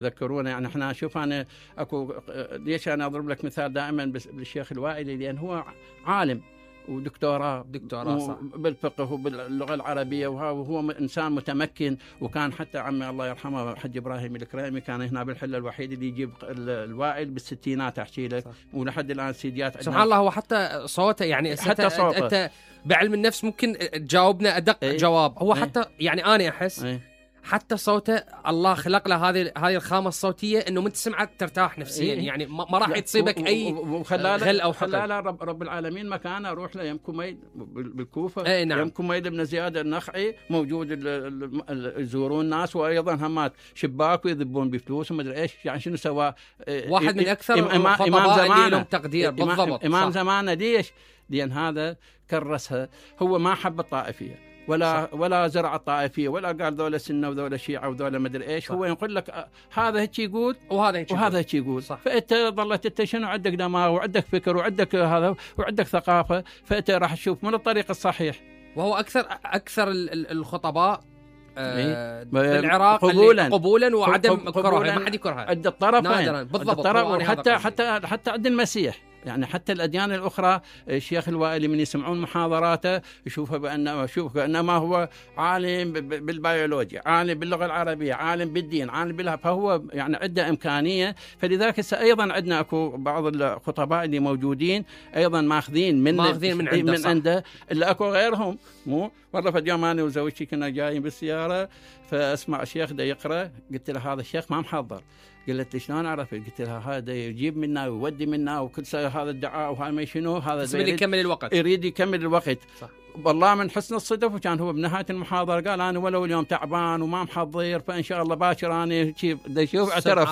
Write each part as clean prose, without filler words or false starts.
ذكرونا. يعني احنا شوف انا اكو ليش انا اضرب لك مثال دائما بالشيخ الوائلي، لان هو عالم ودكتوراه صح. بالفقه وباللغه العربيه، وهو انسان متمكن. وكان حتى عمي الله يرحمه حج ابراهيم الكريمي كان هنا بالحله الوحيد اللي يجيب الوائل بالستينات احكي لك، ولحد الان سيديات سبحان الله. هو حتى صوته يعني حتى صوته انت بعلم النفس ممكن تجاوبنا ادق جواب. هو حتى يعني انا احس حتى صوته الله خلق له هذه الخامه الصوتيه انه من تسمعه ترتاح نفسيا. يعني ما راح تصيبك اي غل او حقد. لا رب العالمين مكانه. اروح له يم كميل بالكوفه. نعم. يم كميل بن زياد النخعي موجود يزورون الناس، وايضا همات شباك ويذبون بفلوس وما ادري ايش. يعني شنو سوى واحد من اكثر الخطباء اللي لهم تقدير. بالضبط امام زمانه. ليش؟ لان هذا كرسها. هو ما حب الطائفيه ولا زرع الطائفيه، ولا قال ذولا سنه وذولا شيعه وذولا ما ادري ايش. هو يقول لك هذا هيك يقول وهذا هيك يقول. فانت ظلت انت شنو عندك دماغ وعندك فكر وعندك هذا وعندك ثقافه، فانت راح تشوف من الطريق الصحيح. وهو اكثر الخطباء بالعراق قبولا وعدم كرهه. ما حد يكرهه عند الطرفين نادرا. بالضبط. حتى عند المسيح. يعني حتى الأديان الأخرى الشيخ الوائلي من يسمعون محاضراته يشوفه بأنما هو عالم بالبيولوجيا، عالم باللغة العربية، عالم بالدين، عالم بالله. فهو يعني عنده إمكانية. فلذلك أيضا عندنا أكو بعض الخطباء اللي موجودين أيضا ماخذين من عنده اللي أكو غيرهم. مو مرة في يوم أنا وزوجتي كنا جايين بالسيارة فأسمع الشيخ ده يقرأ، قلت له هذا الشيخ ما محضر. قلت لي شلون عرفت؟ قلت لها هذا يجيب منا ويودي منا وكل هذا الدعاء وهذا ما شنو هذا يريد يكمل الوقت. صح. والله من حسن الصدف وكان هو بنهاية المحاضرة قال أنا ولو اليوم تعبان وما محضر فإن شاء الله باكر أنا شوف اعترف.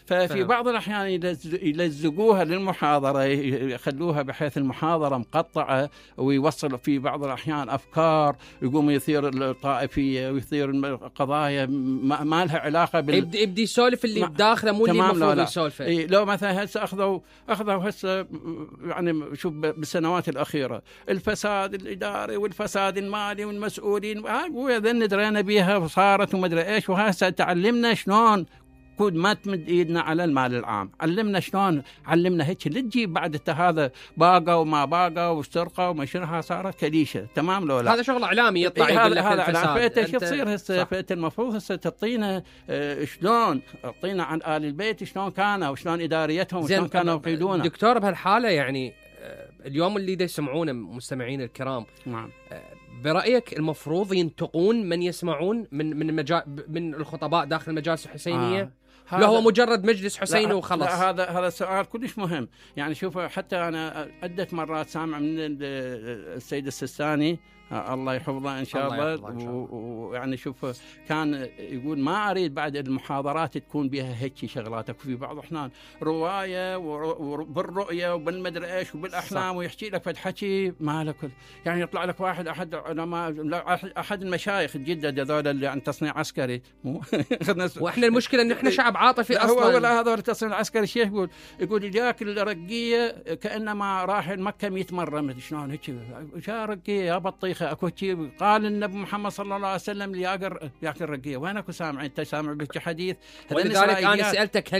ففي بعض الأحيان يلزقوها للمحاضرة، يخلوها بحيث المحاضرة مقطعة، ويوصل في بعض الأحيان أفكار يقوم يثير الطائفية ويثير قضايا ما لها علاقة يبدي يسولف اللي بداخله مو اللي المفروض يسولفه. لو مثلا هسه أخذوا هسه يعني شوف بالسنوات الأخيرة الفساد الإداري والفساد المالي والمسؤولين وذن درينا بيها وصارت وما ادري ايش. وهسه تعلمنا شلون كود ما تمد ايدنا على المال العام. علمنا هيك اللي تجيب بعد هذا باقه وما باقه وسرقه وما شنو صارت كليشه. تمام لو لا هذا شغل اعلامي يطلع يقول لك الفساد. فانت شو تصير هسه؟ فانت المفروض هسه تعطينا شلون تعطينا عن آل البيت شلون كانوا وشلون اداريتهم وشلون كانوا يقيدون. دكتور بهالحاله يعني اليوم اللي يسمعونه مستمعين الكرام، نعم، برأيك المفروض ينتقون من يسمعون من الخطباء داخل المجالس الحسينية؟ لا هو مجرد مجلس حسيني وخلص؟ لا هذا سؤال كلش مهم. يعني شوف حتى أنا عدة مرات سامع من السيد السستاني الله يحفظه إن شاء الله. ويعني شوف كان يقول ما أريد بعد المحاضرات تكون بها هيك شغلاتك. في بعض الأحيان رواية وبالرؤية وبالمدري إيش وبالأحلام ويحكي لك فد حكي ما له كل. يعني يطلع لك أحد المشايخ الجدد هذول اللي عن تصنيع عسكري وإحنا المشكلة إن إحنا شعب عاطفي أصلاً. هو هذول التصنيع العسكري الشيخ يقول جاك الرقية كأنما راح مكة 100 مرة ما شلون هيك جاء رقية يا بطيخة اكو شيء قال النبي محمد صلى الله عليه وسلم ياكل رقيه. وين اكو سامع؟ انت سامع بك حديث؟ ولذلك انا سالتك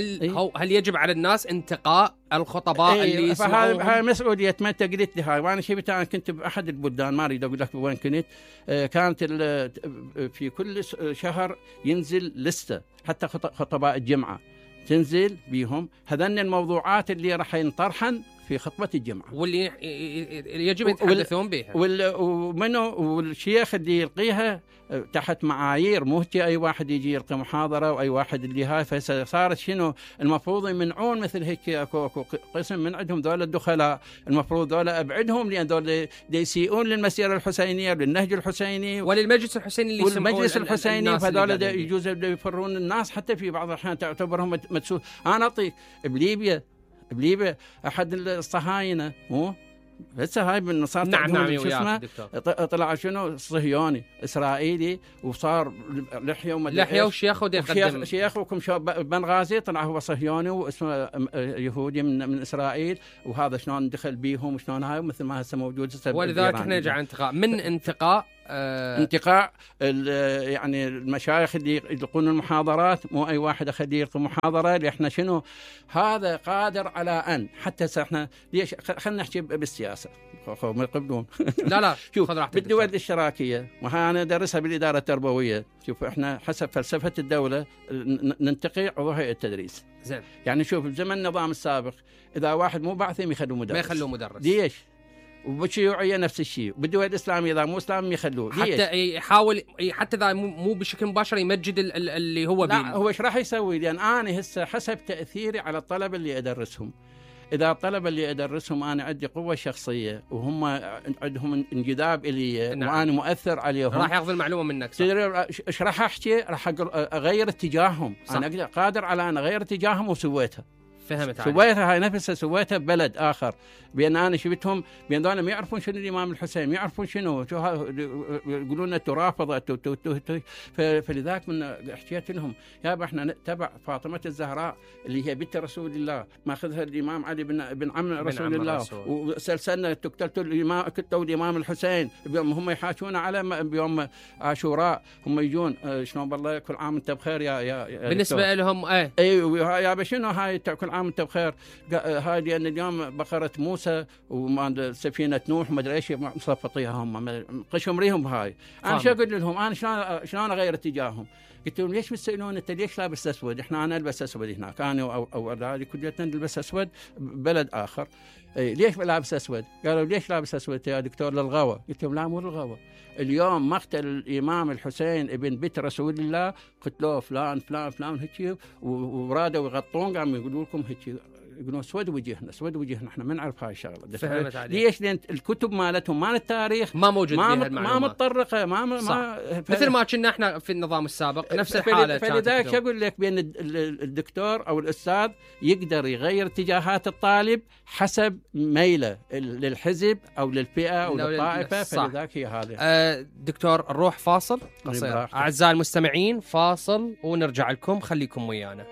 هل يجب على الناس انتقاء الخطباء اللي يسمعون؟ هاي مسؤوليه ما انت قلت لي هاي. وانا شفت انا كنت باحد البلدان ما اريد اقول لك وين كنت. كانت في كل شهر ينزل لسته حتى خطباء الجمعه تنزل بيهم هذن الموضوعات اللي راح ينطرحن في خطبة الجمعة واللي يجب يتحدثون بها والشيخ اللي يلقيها تحت معايير مو أي واحد يجي يلقي محاضرة أو أي واحد اللي هاي. فصارت شنو المفروض يمنعون مثل هيك أكو قسم من عندهم ذول الدخلاء المفروض ذول أبعدهم لأن ذول يسيئون للمسيرة الحسينية للنهج الحسيني وللمجلس الحسيني اللي والمجلس الحسيني. فذول يجوز يفرون الناس حتى في بعض الأحيان تعتبرهم مدسوس. أنا أعطيك بليبيا أحد الصهاينة مو هسه هاي بالنصارى نعم شو اسمه طلع شنو صهيوني إسرائيلي وصار لحية وشيخ شيخ وكم بنغازي طلع هو صهيوني واسمه يهودي من إسرائيل. وهذا شلون دخل بيهم وشلون هاي مثل ما هسه موجود. ولذلك احنا نرجع انتقاء من انتقاء انتقاء يعني المشايخ اللي يلقون المحاضرات، مو اي واحد اخليه يلقي محاضره، اللي احنا شنو هذا قادر على ان حتى احنا ليش خلينا نحكي بالسياسه ما يقبلون. لا شوف بالدول الاشتراكيه، وها انا ادرسها بالاداره التربويه، شوف احنا حسب فلسفه الدوله ننتقي عضو هيئه التدريس. زين. يعني شوف بزمن النظام السابق اذا واحد مو بعثي يخلوه مدرس، ما يخلوه مدرس. ليش؟ وبالشيوعيه نفس الشيء، بالدول الاسلاميه اذا مو اسلام يخلوه، حتى يحاول حتى اذا مو بشكل مباشر يمجد اللي هو لا هو ايش راح يسوي؟ لان انا هسه حسب تاثيري على الطلبه اللي ادرسهم، اذا الطلبه اللي ادرسهم انا عندي قوه شخصيه وهم عندهم انجذاب الي، نعم. وانا مؤثر عليهم، راح ياخذ المعلومه منك. ايش راح احكي؟ راح اغير اتجاههم. صح. انا اقدر قادر على ان اغير اتجاههم وسويتها. فهمت عليك. سويتها هاي نفسها، سويتها ببلد اخر، بان انا شفتهم بان ذولا ما يعرفون شنو الامام الحسين، ما يعرفون شنو يقولون انتم رافضه، فلذلك من حكيت لهم يابا احنا نتبع فاطمه الزهراء اللي هي بنت رسول الله، ماخذها الامام علي بن عم رسول الله، وسلسلنا قتلوا الامام الحسين، هم يحاكون على بيوم عاشوراء، هم يجون شلون بالله كل عام انت بخير يا بالنسبه لهم اي يابا شنو هاي كل عام انت بخير، هاي لان اليوم بقره موسى وسفينه نوح ما ادري ايش مصفطيها هم قشهم ريهم هاي. انا شو اقول لهم؟ انا شلون اغير اتجاههم؟ قلت لهم ليش بتسالون انت ليش لابس اسود؟ انا البس اسود هناك، انا او هذه كليتنا نلبس اسود ببلد اخر. ليش لابس اسود؟ قالوا ليش لابس اسود يا دكتور؟ للغوى. قلت لهم لا مو للغوى، اليوم مقتل الامام الحسين ابن بنت رسول الله قتلوه فلان فلان فلان هيك، ورادوا يغطون قاموا يقولوا لكم هيك، يقولون اسود وجهنا اسود وجهنا، احنا ما نعرف هاي الشغله. ليش؟ لان الكتب مالتهم مال التاريخ ما موجود فيها المعلومات، ما متطرقه، مثل ما كنا احنا في النظام السابق نفس الحاله. فلذلك اقول لك بان الدكتور او الاستاذ يقدر يغير اتجاهات الطالب حسب ميله للحزب او للفئه او للطائفه. فلذلك هي هذه. دكتور نروح فاصل قصير اعزائي المستمعين، فاصل ونرجع لكم، خليكم ويانا.